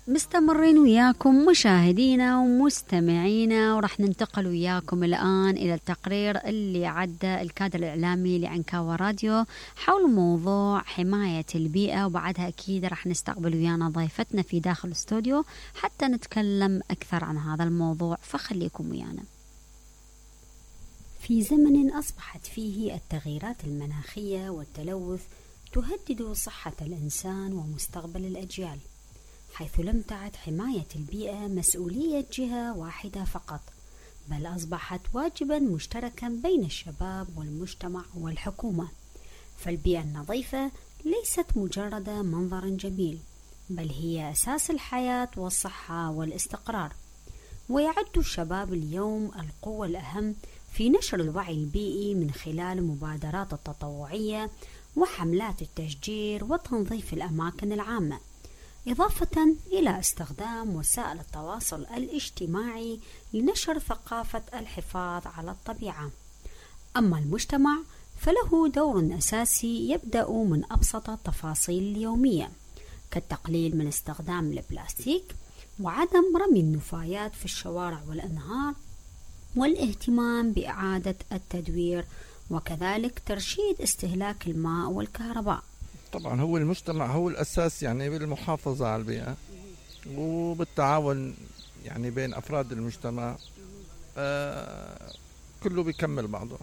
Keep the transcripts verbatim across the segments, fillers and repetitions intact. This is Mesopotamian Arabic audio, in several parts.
مستمرين وياكم مشاهدينا ومستمعينا، ورح ننتقل وياكم الآن إلى التقرير اللي عدى الكادر الإعلامي لعنكاوة راديو حول موضوع حماية البيئة، وبعدها أكيد رح نستقبل ويانا ضيفتنا في داخل الاستوديو حتى نتكلم أكثر عن هذا الموضوع، فخليكم ويانا. في زمن أصبحت فيه التغييرات المناخية والتلوث تهدد صحة الإنسان ومستقبل الأجيال، حيث لم تعد حماية البيئة مسؤولية جهة واحدة فقط، بل أصبحت واجبا مشتركا بين الشباب والمجتمع والحكومة. فالبيئة النظيفة ليست مجرد منظر جميل، بل هي أساس الحياة والصحة والاستقرار. ويعد الشباب اليوم القوة الأهم في نشر الوعي البيئي من خلال مبادرات التطوعية وحملات التشجير وتنظيف الأماكن العامة، إضافة إلى استخدام وسائل التواصل الاجتماعي لنشر ثقافة الحفاظ على الطبيعة. أما المجتمع فله دور أساسي يبدأ من أبسط التفاصيل اليومية، كالتقليل من استخدام البلاستيك وعدم رمي النفايات في الشوارع والأنهار، والاهتمام بإعادة التدوير، وكذلك ترشيد استهلاك الماء والكهرباء. طبعا هو المجتمع هو الأساس يعني بالمحافظة على البيئة، وبالتعاون يعني بين أفراد المجتمع آه كله بيكمل بعضه.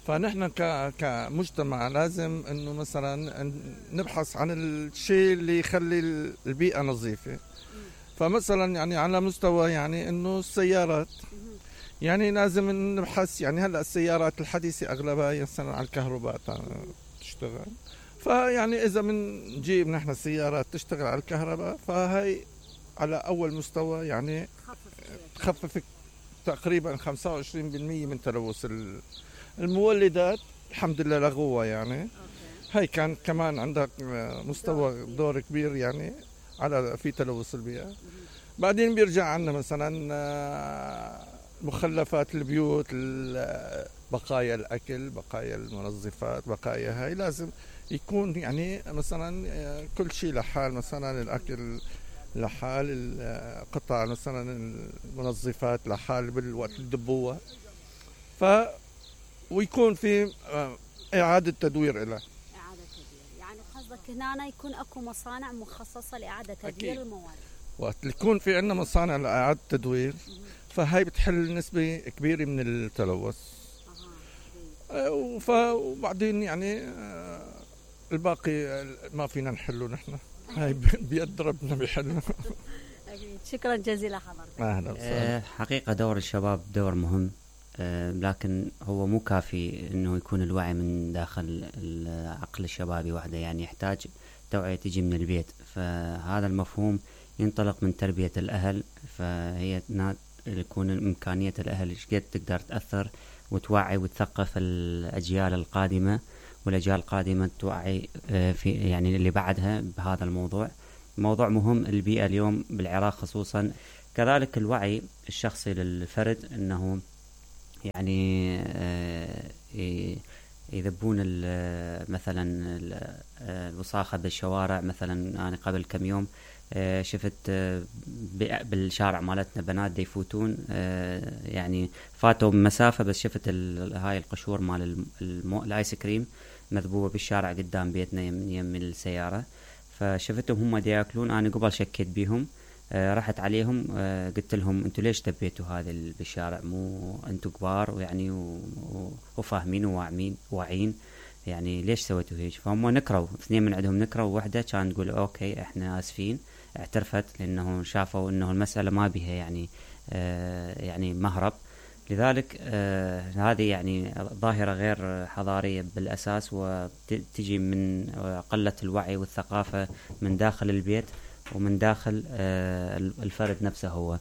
فنحن كمجتمع لازم انه مثلا نبحث عن الشيء اللي يخلي البيئة نظيفة. فمثلا يعني على مستوى يعني انه السيارات، يعني لازم نبحث، يعني هلا السيارات الحديثة اغلبها مثلا على الكهرباء تشتغل، فيعني اذا بنجيب نحن السيارات تشتغل على الكهرباء فهي على اول مستوى يعني تخفف تقريبا خمسة وعشرين بالمئة من تلوث المولدات. الحمد لله لغوها يعني. هاي كان كمان عندك مستوى دور كبير يعني على في تلوث البيئة. بعدين بيرجع عنا مثلا مخلفات البيوت، بقايا الأكل، بقايا المنظفات، بقايا هاي لازم يكون يعني مثلا كل شيء لحال، مثلا الأكل لحال، القطع مثلا المنظفات لحال بالوقت الدبوة، ف ويكون في إعادة تدوير له. إعادة تدوير يعني قصدك هنا يكون أكو مصانع مخصصة لإعادة تدوير المواد. وقت يكون في عندنا مصانع لإعادة تدوير فهي بتحل نسبة كبيرة من التلوث. أه وبعدين يعني الباقي ما فينا نحله نحن، هاي بيد ربنا بيحلنا. شكرا جزيلا حضرتك. أهلا وسهلا. حقيقة دور الشباب دور مهم، لكن هو مو كافي انه يكون الوعي من داخل العقل الشبابي وحده، يعني يحتاج توعية تجي من البيت. فهذا المفهوم ينطلق من تربية الأهل، فهي يكون إمكانية الأهل قد تقدر تأثر وتوعي وتثقف الأجيال القادمة، والأجيال القادمة توعي في يعني اللي بعدها بهذا الموضوع. موضوع مهم البيئة اليوم بالعراق خصوصا. كذلك الوعي الشخصي للفرد انه يعني يذبون مثلا الوساخة بالشوارع. مثلا أنا قبل كم يوم شفت بالشارع مالتنا بنات دي يفوتون، يعني فاتوا مسافة بس شفت هاي القشور مال الآيس كريم مذبوبة بالشارع قدام بيتنا يم السيارة. فشفتهم هم دي ياكلون، أنا قبل شكيت بيهم، آه رحت عليهم، آه قلت لهم انتوا ليش دبيتوا هذا بالشارع؟ مو انتوا كبار ويعني وفاهمين وواعين واعين، يعني ليش سويتوا هيك؟ فهم نكروا، اثنين من عندهم نكروا، وواحدة كان تقول اوكي احنا اسفين، اعترفت لانه شافوا انه المسألة ما بها يعني آه يعني مهرب. لذلك آه هذه يعني ظاهرة غير حضارية بالأساس، وتجي من قلة الوعي والثقافة من داخل البيت ومن داخل آه الفرد نفسه هو.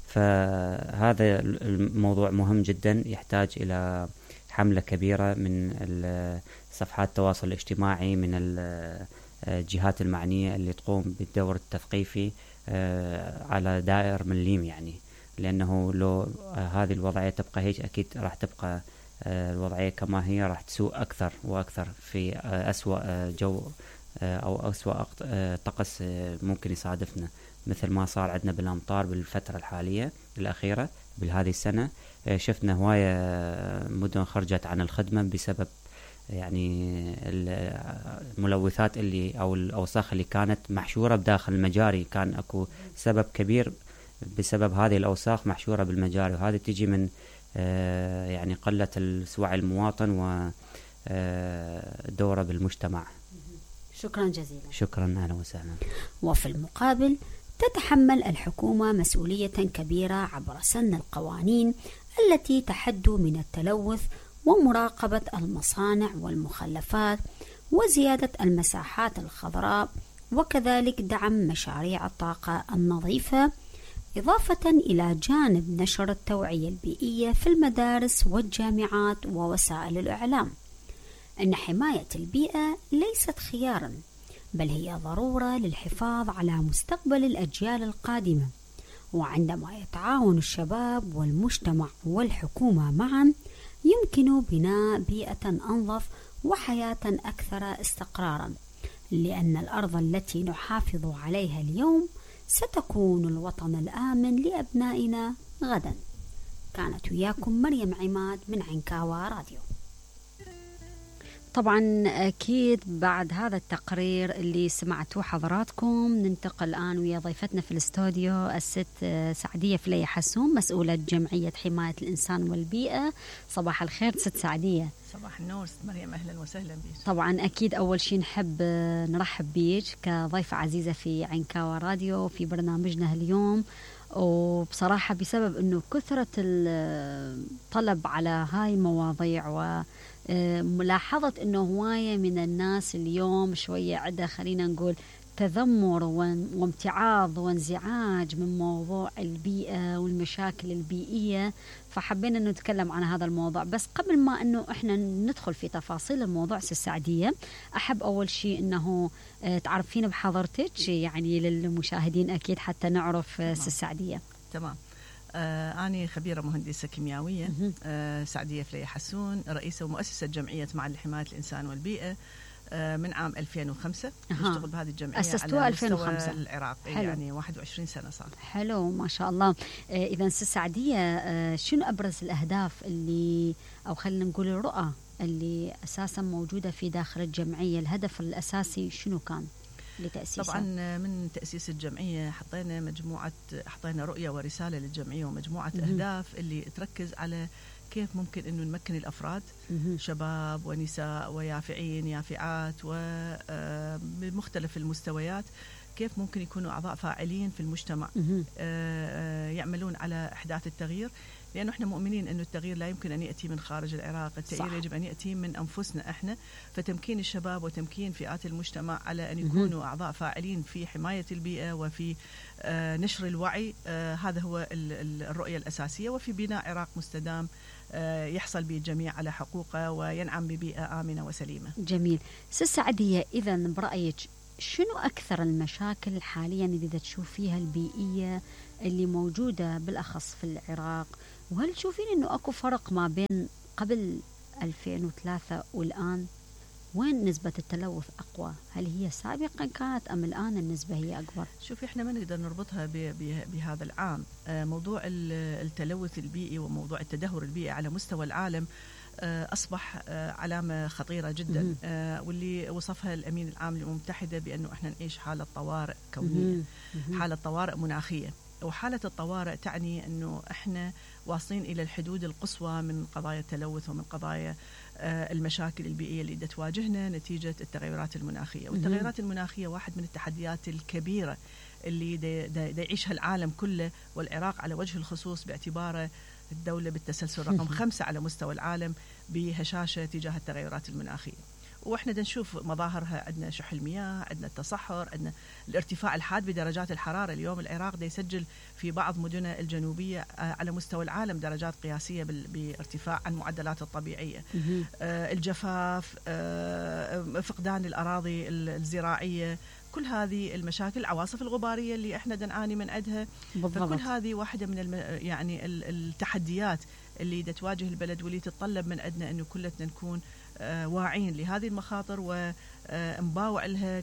فهذا الموضوع مهم جدا، يحتاج إلى حملة كبيرة من صفحات التواصل الاجتماعي، من الجهات المعنية اللي تقوم بالدور التثقيفي آه على دائر مليم، يعني لأنه لو هذه الوضعية تبقى هيك أكيد راح تبقى الوضعية كما هي، راح تسوء أكثر وأكثر في أسوأ جو أو أسوأ طقس ممكن يصادفنا، مثل ما صار عندنا بالأمطار بالفترة الحالية الأخيرة بهذه السنة. شفنا هواية مدن خرجت عن الخدمة بسبب يعني الملوثات اللي أو الأوساخ اللي كانت محشورة بداخل المجاري. كان أكو سبب كبير بسبب هذه الأوساخ محشورة بالمجاري، وهذه تجي من يعني قلة وعي المواطن ودوره بالمجتمع. شكرا جزيلا. شكرا، أهلا وسهلا. وفي المقابل تتحمل الحكومة مسؤولية كبيرة عبر سن القوانين التي تحد من التلوث ومراقبة المصانع والمخلفات وزيادة المساحات الخضراء، وكذلك دعم مشاريع الطاقة النظيفة، إضافة إلى جانب نشر التوعية البيئية في المدارس والجامعات ووسائل الإعلام. أن حماية البيئة ليست خيارا، بل هي ضرورة للحفاظ على مستقبل الأجيال القادمة. وعندما يتعاون الشباب والمجتمع والحكومة معا يمكن بناء بيئة أنظف وحياة أكثر استقرارا، لأن الأرض التي نحافظ عليها اليوم ستكون الوطن الآمن لأبنائنا غدا. كانت وياكم مريم عماد من عنكاوى راديو. طبعا أكيد بعد هذا التقرير اللي سمعتوه حضراتكم ننتقل الآن ويا ضيفتنا في الاستوديو الست سعدية فليح حسون، مسؤولة جمعية حماية الإنسان والبيئة. صباح الخير ست سعدية. صباح النور ست مريم، أهلا وسهلا بك. طبعا أكيد أول شيء نحب نرحب بيك كضيفة عزيزة في عنكاوى راديو في برنامجنا اليوم، وبصراحة بسبب أنه كثرة الطلب على هاي المواضيع و ملاحظة أنه هواية من الناس اليوم شوية عدة خلينا نقول تذمر وامتعاض وانزعاج من موضوع البيئة والمشاكل البيئية، فحبينا أنه نتكلم عن هذا الموضوع. بس قبل ما أنه إحنا ندخل في تفاصيل الموضوع سعدية، أحب أول شيء أنه تعرفين بحضرتك يعني للمشاهدين أكيد حتى نعرف سعدية. تمام. آه أنا خبيرة مهندسة كيميائية، آه سعدية فليح حسون، رئيسة ومؤسسة جمعية معا لحماية الإنسان والبيئة آه من عام ألفين وخمسة. نشتغل بهذه الجمعية على ألفين وخمسة العراق. حلو. يعني واحد وعشرين سنة صار. حلو ما شاء الله. آه إذا سعدية، آه شنو أبرز الأهداف اللي أو خلينا نقول الرؤى اللي أساسا موجودة في داخل الجمعية؟ الهدف الأساسي شنو كان لتأسيسها؟ طبعا من تأسيس الجمعية حطينا مجموعة حطينا رؤية ورسالة للجمعية ومجموعة م- أهداف اللي تركز على كيف ممكن أنه نمكن الأفراد م- شباب ونساء ويافعين يافعات وبمختلف المستويات، كيف ممكن يكونوا أعضاء فاعلين في المجتمع م- يعملون على إحداث التغيير، لأنه إحنا مؤمنين أنه التغيير لا يمكن أن يأتي من خارج العراق، التغيير يجب أن يأتي من أنفسنا إحنا. فتمكين الشباب وتمكين فئات المجتمع على أن يكونوا أعضاء فاعلين في حماية البيئة وفي آه نشر الوعي، آه هذا هو الرؤية الأساسية، وفي بناء عراق مستدام آه يحصل به الجميع على حقوقه وينعم ببيئة آمنة وسليمة. جميل. سعدية، إذا برأيك شنو أكثر المشاكل حاليا اللي تشوفيها البيئية اللي موجودة بالأخص في العراق؟ وهل تشوفين أنه أكو فرق ما بين قبل ألفين وثلاثة والآن؟ وين نسبة التلوث أقوى؟ هل هي سابقا كانت أم الآن النسبة هي أكبر؟ شوفي إحنا ما نقدر نربطها بهذا العام. موضوع التلوث البيئي وموضوع التدهور البيئي على مستوى العالم أصبح علامة خطيرة جدا، واللي وصفها الأمين العام للأمم المتحدة بأنه إحنا نعيش حالة طوارئ كونية، حالة طوارئ مناخية. وحالة الطوارئ تعني أنه إحنا واصلين إلى الحدود القصوى من قضايا التلوث ومن قضايا المشاكل البيئية اللي تواجهنا نتيجة التغيرات المناخية. والتغيرات المناخية واحد من التحديات الكبيرة اللي دا دا دا يعيشها العالم كله، والعراق على وجه الخصوص باعتباره الدولة بالتسلسل رقم خمسة على مستوى العالم بهشاشة تجاه التغيرات المناخية. واحنا نشوف مظاهرها، عندنا شح المياه، عندنا التصحر، عندنا الارتفاع الحاد بدرجات الحرارة. اليوم العراق دا يسجل في بعض مدنه الجنوبية على مستوى العالم درجات قياسية بارتفاع عن المعدلات الطبيعية. آه الجفاف، آه فقدان الأراضي الزراعية، كل هذه المشاكل، العواصف الغبارية اللي احنا نعاني من عندها. فكل هذه واحدة من الم... يعني التحديات اللي تواجه البلد واللي تتطلب من عندنا انه كلنا نكون واعين لهذه المخاطر ونباوع لها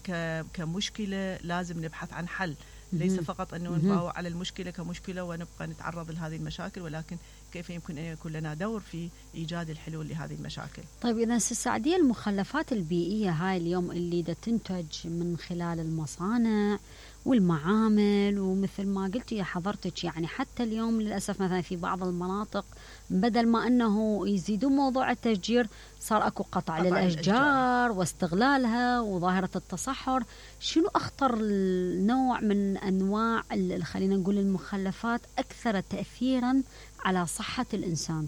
كمشكلة لازم نبحث عن حل، ليس فقط أنه نباوع على المشكلة كمشكلة ونبقى نتعرض لهذه المشاكل، ولكن كيف يمكن أن يكون لنا دور في إيجاد الحلول لهذه المشاكل. طيب إذا سعدية، المخلفات البيئية هاي اليوم اللي دا تنتج من خلال المصانع والمعامل، ومثل ما قلتي يا حضرتك يعني حتى اليوم للأسف مثلا في بعض المناطق بدل ما أنه يزيدون موضوع التشجير صار أكو قطع, قطع للأشجار واستغلالها وظاهرة التصحر. شنو أخطر النوع من أنواع خلينا نقول المخلفات أكثر تأثيرا على صحة الإنسان؟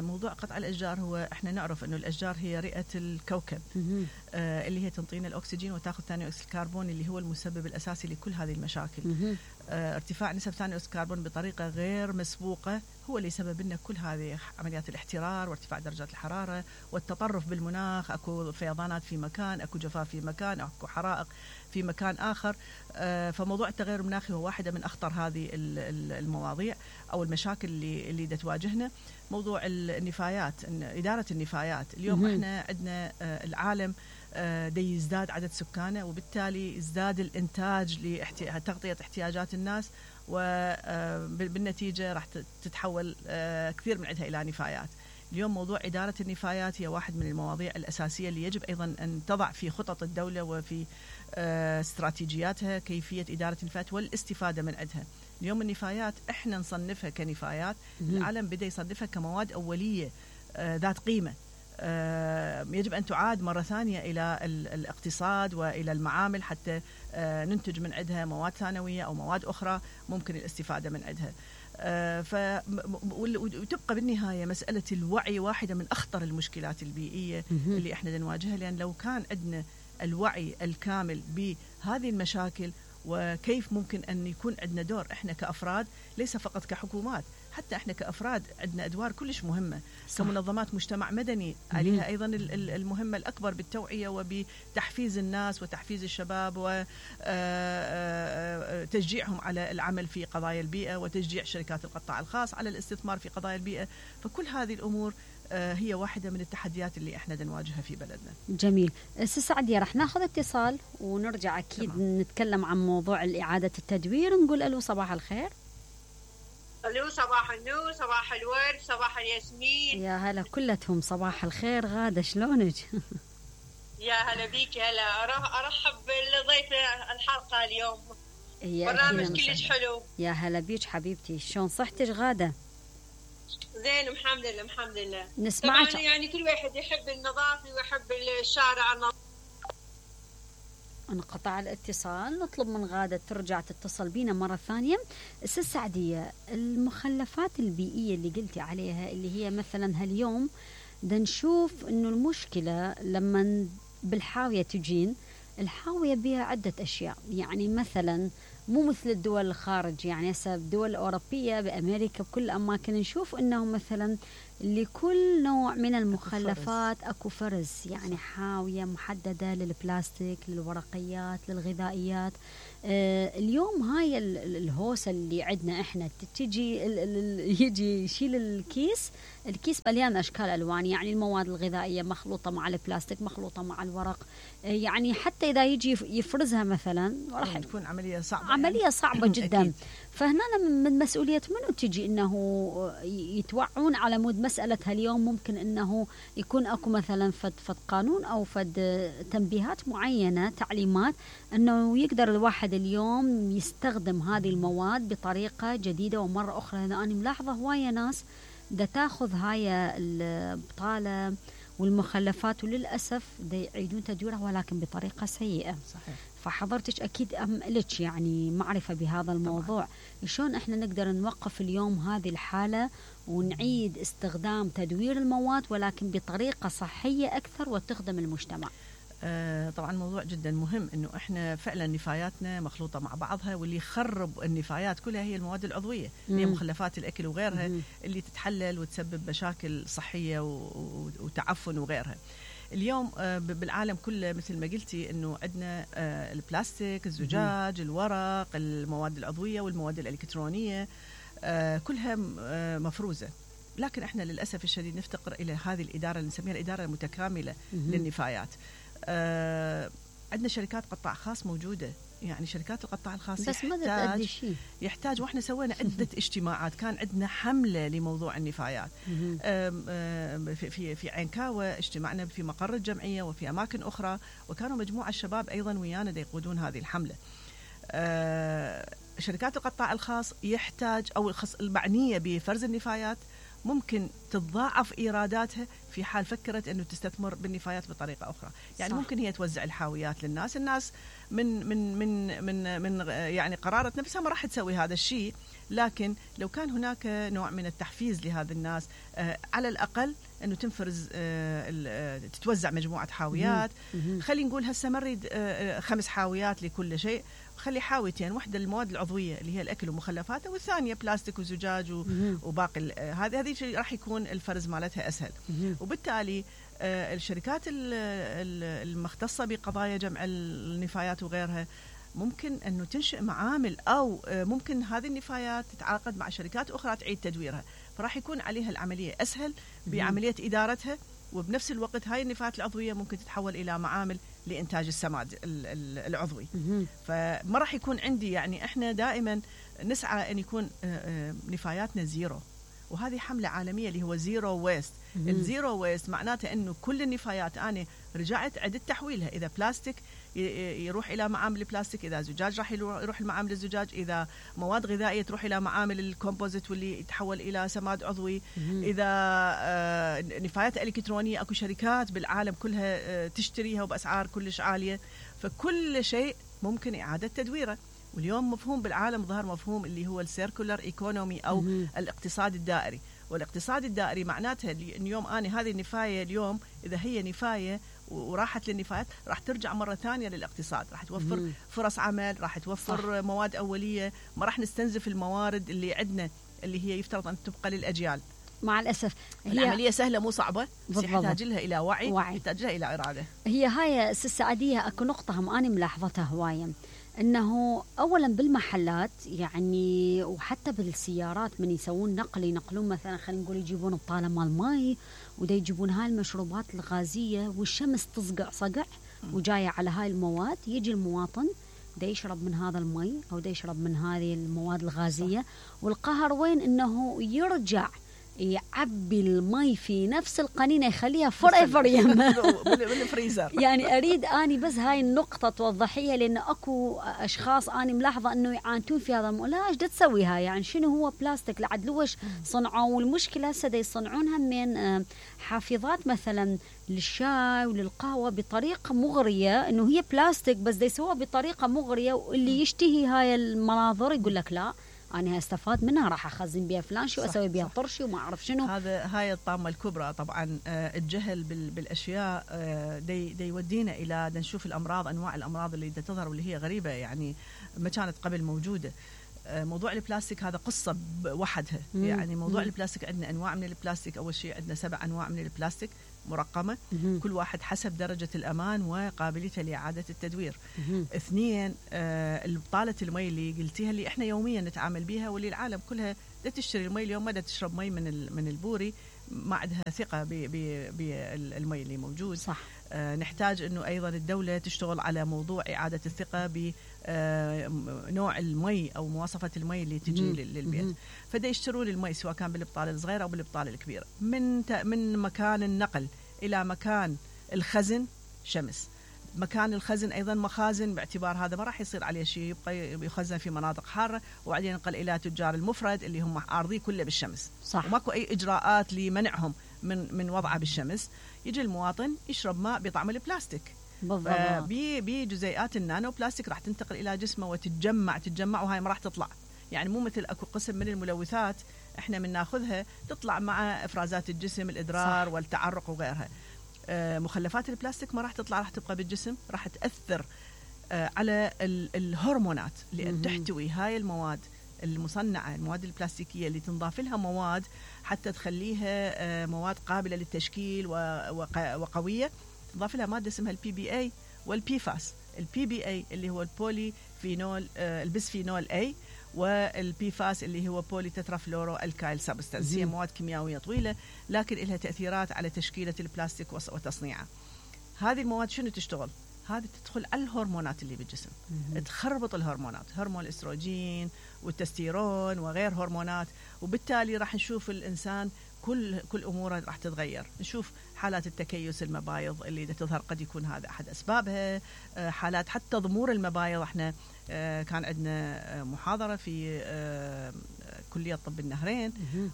موضوع قطع الأشجار، هو إحنا نعرف إنه الأشجار هي رئة الكوكب آه اللي هي تنطينا الأكسجين وتأخذ ثاني أكسيد الكربون اللي هو المسبب الأساسي لكل هذه المشاكل. آه ارتفاع نسب ثاني أكسيد الكربون بطريقة غير مسبوقة هو اللي سبب لنا كل هذه عمليات الاحترار وارتفاع درجات الحرارة والتطرف بالمناخ. أكو فيضانات في مكان، أكو جفاف في مكان، أكو حرائق في مكان آخر. آه فموضوع التغير المناخي هو واحدة من أخطر هذه المواضيع أو المشاكل اللي اللي تواجهنا. موضوع النفايات، إدارة النفايات اليوم احنا عندنا العالم دي يزداد عدد سكانه، وبالتالي يزداد الإنتاج لتغطية احتياجات الناس، وبالنتيجة راح تتحول كثير من عندها إلى نفايات. اليوم موضوع إدارة النفايات هي واحد من المواضيع الأساسية اللي يجب أيضا أن تضع في خطط الدولة وفي استراتيجياتها كيفية إدارة النفايات والاستفادة من عندها. اليوم النفايات احنا نصنفها كنفايات، العالم بدأ يصنفها كمواد أولية آه ذات قيمة، آه يجب أن تعاد مرة ثانية إلى الاقتصاد وإلى المعامل حتى آه ننتج من عندها مواد ثانوية أو مواد أخرى ممكن الاستفادة من عندها. آه ف وتبقى بالنهاية مسألة الوعي واحدة من أخطر المشكلات البيئية اللي احنا نواجهها، لأن لو كان عندنا الوعي الكامل بهذه المشاكل وكيف ممكن أن يكون عندنا دور إحنا كأفراد، ليس فقط كحكومات، حتى إحنا كأفراد عندنا أدوار كلش مهمة. صح. كمنظمات مجتمع مدني عليها أيضا المهمة الأكبر بالتوعية وبتحفيز الناس وتحفيز الشباب وتشجيعهم على العمل في قضايا البيئة وتشجيع شركات القطاع الخاص على الاستثمار في قضايا البيئة. فكل هذه الأمور هي واحدة من التحديات اللي احنا نواجهها في بلدنا. جميل. سي سعدية، رح ناخذ اتصال ونرجع أكيد تمام. نتكلم عن موضوع إعادة التدوير. نقول ألو صباح الخير. ألو صباح النور، صباح الورد، صباح الياسمين. يا هلا كلتهم صباح الخير. غادة شلونك؟ يا هلا بيك. هلا أرحب بالضيف الحلقة اليوم، برنامج كلش حلو. يا هلا بيك حبيبتي، شلون صحتك غادة؟ زين الحمد لله الحمد لله. نسمعك. طبعا يعني كل واحد يحب النظافة ويحب الشارع النظيف. انقطع الاتصال، نطلب من غادة ترجع تتصل بينا مرة ثانية. أستاذ سعدية، المخلفات البيئية اللي قلتي عليها اللي هي مثلا هاليوم دا نشوف انه المشكلة لما بالحاوية تجين، الحاوية بها عدة أشياء، يعني مثلا مو مثل الدول الخارج، يعني هسه الدول الأوروبية بأمريكا بكل أماكن نشوف أنه مثلا لكل نوع من المخلفات أكو فرز، يعني حاوية محددة للبلاستيك، للورقيات، للغذائيات. آه اليوم هاي الهوسة اللي عندنا إحنا تجي يجي يشيل الكيس، الكيس مليان أشكال ألوان، يعني المواد الغذائية مخلوطة مع البلاستيك، مخلوطة مع الورق، آه يعني حتى إذا يجي يفرزها مثلا راح تكون عملية صعبة، عملية يعني. صعبة جدا. فهنا من مسؤولية منو تجي إنه يتوعون على مود مسألة هاليوم ممكن إنه يكون أكو مثلا فد فد قانون أو فد تنبيهات معينة، تعليمات إنه يقدر الواحد اليوم يستخدم هذه المواد بطريقة جديدة. ومرة أخرى أنا ملاحظة هواية ناس دا تاخذ هاي البطالة والمخلفات وللأسف دا يعيدون تدويرها ولكن بطريقة سيئة. صحيح. فحضرتك أكيد أم لك يعني معرفة بهذا الموضوع. شلون إحنا نقدر نوقف اليوم هذه الحالة ونعيد استخدام تدوير المواد ولكن بطريقة صحية أكثر وتخدم المجتمع؟ آه طبعا موضوع جدا مهم، إنه إحنا فعلا نفاياتنا مخلوطة مع بعضها، واللي يخرب النفايات كلها هي المواد العضوية، هي مخلفات الأكل وغيرها مم. اللي تتحلل وتسبب مشاكل صحية وتعفن وغيرها. اليوم بالعالم كله مثل ما قلتي انه عندنا البلاستيك، الزجاج، الورق، المواد العضويه والمواد الالكترونيه كلها مفروزه. لكن احنا للاسف الشديد نفتقر الى هذه الاداره اللي نسميها الاداره المتكامله للنفايات. آه عندنا شركات قطاع خاص موجوده، يعني شركات القطاع الخاص بس ما تأدي شيء. يحتاج، واحنا سوينا عده اجتماعات، كان عندنا حمله لموضوع النفايات. آم آم في في في عينكاوة اجتمعنا في مقر الجمعيه وفي اماكن اخرى، وكانوا مجموعه الشباب ايضا ويانا يقودون هذه الحمله. آه شركات القطاع الخاص يحتاج او المعنيه بفرز النفايات ممكن تتضاعف ايراداتها في حال فكرت انه تستثمر بالنفايات بطريقه اخرى، يعني صح. ممكن هي توزع الحاويات للناس، الناس من من من من من يعني قرارة نفسها ما راح تسوي هذا الشيء، لكن لو كان هناك نوع من التحفيز لهذا الناس، آه على الاقل انه تنفرز آه تتوزع مجموعه حاويات. خلينا نقول هسه مريد آه خمس حاويات لكل شيء، خلي حاويتين، واحدة المواد العضوية اللي هي الأكل ومخلفاته، والثانية بلاستيك وزجاج وباقي هذه هذه راح يكون الفرز مالتها أسهل. وبالتالي الشركات المختصة بقضايا جمع النفايات وغيرها ممكن أنه تنشئ معامل، أو ممكن هذه النفايات تتعاقد مع شركات أخرى تعيد تدويرها، فراح يكون عليها العملية أسهل بعملية إدارتها، وبنفس الوقت هاي النفايات العضوية ممكن تتحول إلى معامل لإنتاج السماد العضوي. فما راح يكون عندي، يعني إحنا دائما نسعى أن يكون نفاياتنا زيرو، وهذه حملة عالمية اللي هو زيرو ويست. الزيرو ويست معناته أنه كل النفايات أنا رجعت عدت تحويلها، إذا بلاستيك يروح إلى معامل البلاستيك، إذا زجاج راح يروح لمعامل الزجاج، إذا مواد غذائية تروح إلى معامل الكومبوزيت واللي يتحول إلى سماد عضوي، إذا نفايات إلكترونية أكو شركات بالعالم كلها تشتريها وبأسعار كلش عالية، فكل شيء ممكن إعادة تدويره. واليوم مفهوم بالعالم ظهر مفهوم اللي هو السيركولر ايكونومي أو الاقتصاد الدائري. والاقتصاد الدائري معناتها اليوم أنا هذه النفاية اليوم إذا هي نفاية وراحت للنفايات راح ترجع مرة ثانية للاقتصاد، راح توفر مم. فرص عمل، راح توفر صح. مواد أولية، ما راح نستنزف الموارد اللي عندنا اللي هي يفترض أن تبقى للأجيال. مع الأسف هي العملية سهلة مو صعبة، بس يحتاج لها إلى وعي, وعي. يحتاج لها إلى إرادة. هي هاي سعدية أكو نقطة هم أنا ملاحظتها هواية، أنه أولا بالمحلات يعني وحتى بالسيارات من يسوون نقل ينقلون مثلا خلينا نقول يجيبون بطالة مال ماي ودا يجيبون هاي المشروبات الغازية والشمس تصقع صقع وجاية على هاي المواد، يجي المواطن دا يشرب من هذا المي أو دا يشرب من هذه المواد الغازية، والقهر وين أنه يرجع يعبي المي في نفس القنينة يخليها فور ايفر بالفريزر. يعني أريد أني بس هاي النقطة توضحيها، لأن أكو أشخاص أنا ملاحظة أنه يعانتون في هذا الموضوع. لا إيش دا تسوي هاي؟ يعني شنو هو بلاستيك لعد لوش صنعوا؟ والمشكلة هسه دا يصنعونها من حافظات مثلا للشاي وللقهوة بطريقة مغرية، إنه هي بلاستيك بس دا يسووها بطريقة مغرية، واللي يشتهي هاي المناظر يقول لك لا أنا استفاد منها راح أخزن بها فلان شو أسوي بها طرشي وما أعرف شنو. هذا هاي الطامة الكبرى طبعا. آه الجهل بالأشياء آه دي, دي يودينا إلى نشوف الأمراض، أنواع الأمراض اللي تظهر واللي هي غريبة يعني ما كانت قبل موجودة. آه موضوع البلاستيك هذا قصة وحدها. مم. يعني موضوع مم. البلاستيك عندنا أنواع من البلاستيك. أول شيء عندنا سبع أنواع من البلاستيك مرقمة، مم. كل واحد حسب درجة الأمان وقابليته لإعادة التدوير. مم. اثنين آه البطالة المي اللي قلتيها اللي احنا يوميا نتعامل بها، واللي العالم كلها دا تشتري المي اليوم، ما دا تشرب مي من من البوري، ما عندها ثقة بالمي اللي موجود. صح. آه نحتاج انه ايضا الدولة تشتغل على موضوع إعادة الثقة بنوع المي او مواصفة المي اللي تجي مم. للبيت. مم. فدا يشترون المي سواء كان بالبطالة الصغيرة او بالبطالة الكبيرة، من من مكان النقل الى مكان الخزن شمس. مكان الخزن ايضا مخازن، باعتبار هذا ما راح يصير عليه شيء، يبقى يخزن في مناطق حاره، وبعدين ينقل الى تجار المفرد اللي هم عارضيه كله بالشمس. صح. وماكو اي اجراءات لمنعهم من من وضعه بالشمس. يجي المواطن يشرب ماء بطعم البلاستيك بالضبط، بجزيئات النانو بلاستيك راح تنتقل الى جسمه وتتجمع تتجمع وهاي ما راح تطلع. يعني مو مثل اكو قسم من الملوثات احنا من ناخذها تطلع مع افرازات الجسم، الادرار صح. والتعرق وغيرها. آه مخلفات البلاستيك ما راح تطلع، راح تبقى بالجسم، راح تأثر آه على الهرمونات لأن تحتوي هاي المواد المصنعة، المواد البلاستيكية اللي تنضاف لها مواد حتى تخليها آه مواد قابلة للتشكيل وقوية. تنضاف لها مادة اسمها البي بي اي والبيفاس. البي بي اي اللي هو البولي فينول آه البسفينول اي، والبي فاس اللي هو بولي تترافلورو الكايل سبستانس. هي مواد كيميائية طويلة لكن لها تأثيرات على تشكيلة البلاستيك وتصنيعه. هذه المواد شنو تشتغل؟ هذه تدخل على الهرمونات اللي بالجسم، تخربط الهرمونات، هرمون الاستروجين والتستيرون وغير هرمونات، وبالتالي راح نشوف الإنسان كل كل أموره راح تتغير. نشوف حالات التكيس المبايض اللي تظهر قد يكون هذا أحد أسبابها، حالات حتى ضمور المبايض. احنا كان عندنا محاضرة في كلية طب النهرين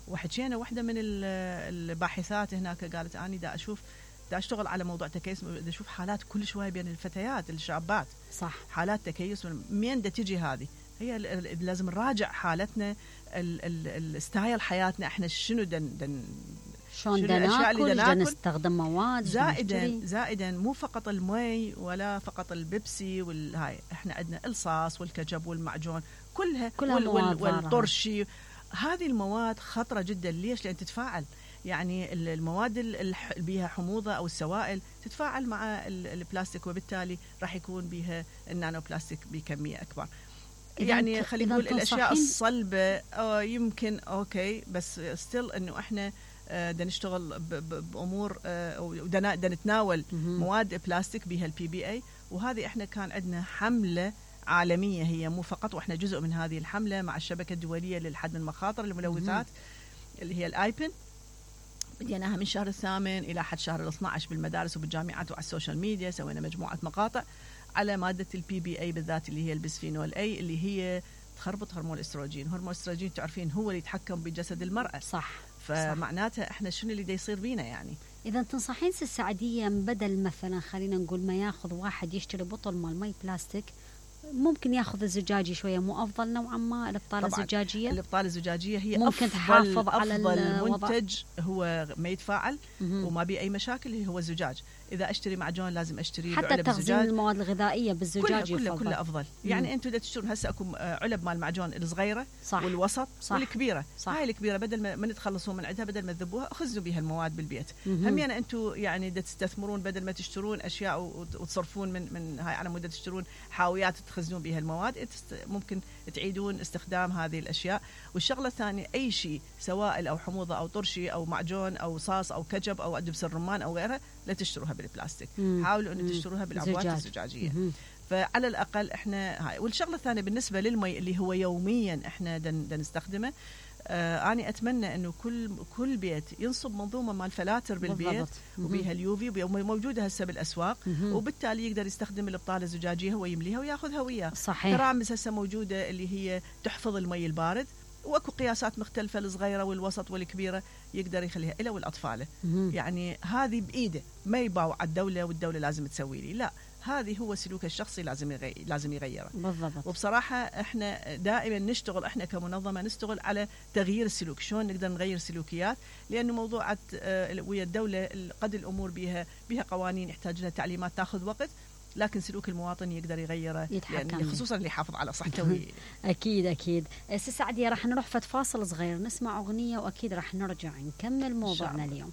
وحكينا واحدة من الباحثات هناك قالت أنا دا أشوف دا أشتغل على موضوع تكيس، دا أشوف حالات كل شوية بين الفتيات الشابات، صح، حالات تكيس. مين دا تجي هذه؟ هي لازم نراجع حالتنا، الستايل حياتنا احنا شنو دن دن شلون بدنا ناكل، بدنا نستخدم مواد زائدا زائدا مو فقط المي ولا فقط البيبسي والهاي، احنا عندنا الصاص والكاتشب والمعجون كلها, كلها وال وال والطرشي. هذه المواد خطرة جدا. ليش؟ لأن تتفاعل، يعني المواد اللي بيها حموضة أو السوائل تتفاعل مع البلاستيك، وبالتالي راح يكون بيها النانو بلاستيك بكمية أكبر. يعني خلينا نقول الأشياء الصلبة يمكن أوكي، بس ستيل إنه إحنا بدنا نشتغل بأمور ودنا نتناول مواد بلاستيك بها البي بي اي. وهذه إحنا كان عندنا حملة عالمية، هي مو فقط، وإحنا جزء من هذه الحملة مع الشبكة الدولية للحد من مخاطر الملوثات اللي هي الآيبن. بديناها من شهر الثامن إلى حد شهر الاثنى عشر بالمدارس وبالجامعات وعلى السوشيال ميديا. سوينا مجموعة مقاطع على مادة البي بي اي بالذات اللي هي البسفينول اي، اللي هي تخربط هرمون الاستروجين. هرمون الاستروجين تعرفين هو اللي يتحكم بجسد المرأة، صح، فمعناتها احنا شنو اللي دا يصير بينا يعني. إذا تنصحين السعدية بدل مثلا خلينا نقول ما ياخذ واحد يشتري بطل مال مي بلاستيك، ممكن ياخذ الزجاجي شوية، مو أفضل نوعا ما الإبطالة الزجاجية؟ الإبطالة الزجاجية هي ممكن أفضل تحافظ على أفضل منتج، هو ما يتفاعل وما بيه أي مشاكل، هو الزجاج. إذا أشتري معجون لازم أشتري حتى تخزين المواد الغذائية بالزجاج كله كله, كله أفضل. يعني أنتوا إذا تشترون هسه أكو علب مال معجون الصغيرة، صح، والوسط، صح، والكبيرة، صح. هاي الكبيرة بدل ما من تخلصون من عندها، بدل ما تذبوها خزنوا بها المواد بالبيت. هم يعني أنتوا يعني دا تستثمرون، بدل ما تشترون أشياء وتصرفون من من هاي على مدة تشترون حاويات تخزنون بها المواد، ممكن تعيدون استخدام هذه الأشياء. والشغلة الثانية، أي شيء سوائل أو حموضة أو طرشي أو معجون أو صاص أو كاتشب أو دبس الرمان أو غيرها، لا تشتروها بالبلاستيك، مم. حاولوا أن تشتروها بالعبوات الزجاجية. مم. فعلى الأقل إحنا هاي. والشغلة الثانية بالنسبة للمي اللي هو يوميا إحنا دن دن نستخدمه، آه أنا أتمنى إنه كل كل بيت ينصب منظومة مال فلاتر بالبيت وبيها اليوفي، موجودة هسه بالأسواق، وبالتالي يقدر يستخدم الإبطالة الزجاجية هو يمليها وياخذها وياه. صحيح. ترامس هسه موجودة اللي هي تحفظ المي البارد، واكو قياسات مختلفة، الصغيرة والوسط والكبيرة، يقدر يخليها إلى والأطفال. يعني هذه بإيده، ما يباوع الدولة والدولة لازم تسوي لي، لا، هذه هو سلوك الشخصي لازم يغير لازم يغيره. بالضبط. وبصراحة احنا دائما نشتغل، احنا كمنظمة نشتغل على تغيير السلوك، شلون نقدر نغير سلوكيات، لأنه موضوعات اه ويا الدولة قد الأمور بها بها قوانين يحتاج لها تعليمات تاخذ وقت، لكن سلوك المواطن يقدر يغيره، يعني خصوصا اللي يحافظ على صحته. أكيد أكيد. سي سعدية راح نروح فت فاصل صغير نسمع أغنية، وأكيد راح نرجع نكمل موضوعنا اليوم.